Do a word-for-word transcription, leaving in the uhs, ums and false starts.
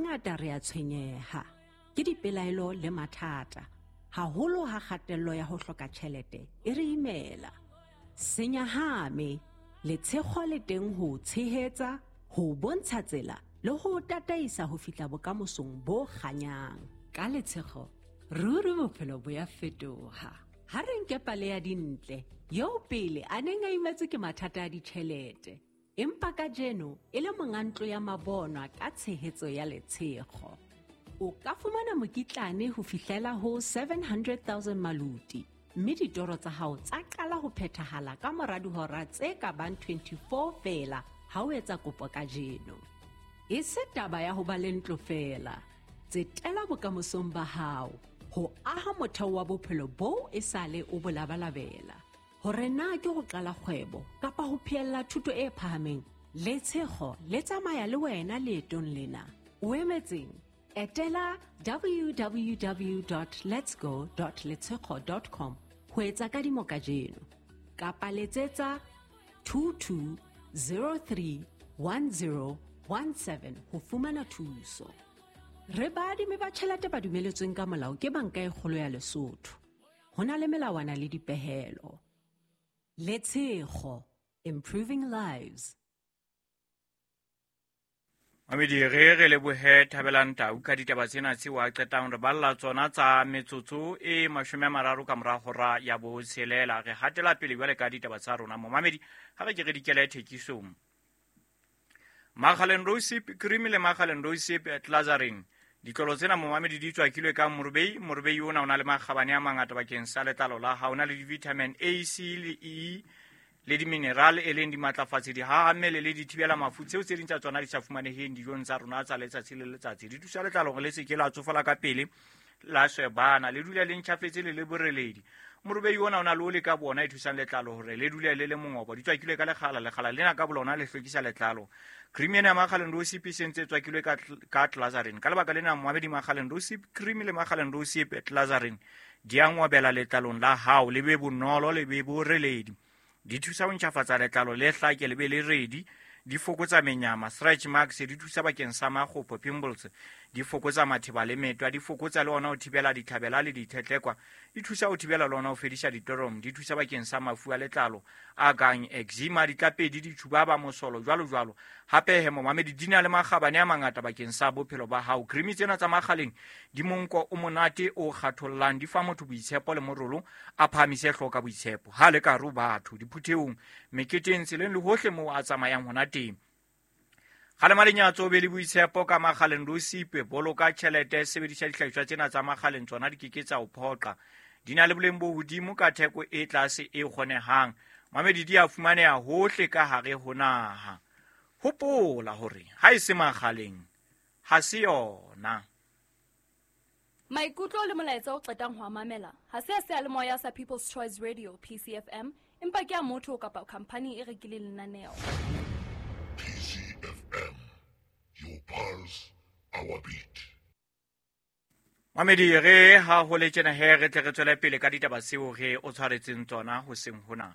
Hangata re a tshwenyeha ke dipelaelo le mathata, haholo ha kgatello ya ho hloka tjhelete e re imela. Se nyahame, Letshego le teng ho o tshehetsa, ho o bontsha tsela le ho o tataisa ho fihla bokamosong bo kganyang. Ka Letshego, ruri bophelo bo ya fetoha. Ha re nke pale ya Dintle, eo pele a neng a imetswe ke mathata a ditjhelete, empa kajeno e le monga ntlo ya mabonwa ka tshehetso ya Letshego. O ka fumana mokitlane ho fihlela ho seven hundred thousand maluti, mme ditoro tsa hao tsa qala ho phethahala ka mora dihora tse ka bang twenty-four feela ha o etsa kopo kajeno. E se taba ya ho ba le ntlo feela, tsetela bokamosong ba hao ho aha motheo wa bophelo boo esale o bo labalabela. Hore na ke ho qala kgwebo kapa ho phehella thuto e phahameng, Letshego le tsamaya le wena leetong lena. O emetseng? Etela w w w dot letsgo dot letshego dot com ho etsa kadimo kajeno kapa letsetsa two two zero three one zero one seven ho fumana thuso. Re baadimi ba tjhelete ba dumeletsweng ka molao ke Banka e Kgolo ya Lesotho. Ho na le melawana le dipehelo. Letshego, improving lives. Mamedi, re re lebohe Thabelang Tau ka ditaba tsena tseo a qetang re balla tsona tsa metsotso e mashome a mararo ka mora hora ya botshelela. Re hatela pele jwale ka ditaba tsa rona. Momamedi, ha re ke re dikele thekisong. Makgaleng Rosip Cream le Makgaleng Rosip Glazarin. Ditlolo tsena momamedi di tswakilwe ka morobei. Morobei ona o na le makgabane a mangata bakeng sa letlalo la hao. O na le di-vitamin A, C le E le di-mineral e leng dimatlafatsi, dihahammele le dithibela mafu tseo tse ding tsa tsona di sa fumaneheng dijong tsa rona tsa letsatsi le letsatsi. Di thusa letlalo hore le se ke la tsofala ka pele, la shebana, le dule le ntjhafetse le le boreledi. Morobei ona o na le oli ka bona e thusang letlalo hore le dule le le mongobo. Di tswakilwe ka lekgala, lekgala lena ka bolona le hlwekisa letlalo. Cream ena ya Makgaleng Rosip e sentse e tswakilwe ka tl-, ka Glazarin. Ka lebaka lena moabedi Makgaleng Rosip Cream le Makgaleng Rosip Glazarin di a ngobela letlalong la hao, le be bonolo, le be boreledi. Di thusa ho ntjhafatsa letlalo le hlake le be le redi, di fokotsa menyama, stretch marks, di thusa bakeng sa makgopo, pimples, di fokotsa matheba le metwa, di fokotsa le ona ho thibela ditlhabela le dithetlekwa, di thusa ho thibela le ona ho fedisa ditorom, di thusa bakeng sa mafu a letlalo a kang eczema, ditlapedi, ditjhubaba, mosolo, jwalo jwalo. Hape he momamedi, di na le makgabane a mangata bakeng sa bophelo ba hao. Cream tsena tsa Makgaleng di monko o monate o kgathollang, di fa motho boitshepo le morolo, a phahamise hlooho ka boitshepo. Ha le ka re batho diphuthehong, meketeng, tseleng le hohle moo a tsamayang hona teng. Kgalema lenyatso, o be le boitshepo ka Makgaleng Rosipe. Boloka tjhelete, sebedisa dihlahiswa tsena tsa Makgaleng, tsona di ke ke tsa o phoqa. Di na le boleng bo hodimo ka theko e tlase e kgonehang. Mamedi di a fumaneha hohle ka hare ho naha. Hopola hore ha e se Makgaleng, ha se yona. Maikutlo le molaetsa o qetang ho a mamela ha se a seyalemoya sa People's Choice Radio P C F M, empa ke a motho kapa khampani e rekileng lenaneo. P C F M, your pulse, our beat. Mamedi, re ha ho le tjena he, re tle re tswele pele ka ditaba tseo re o tshwaretseng tsona hoseng hona.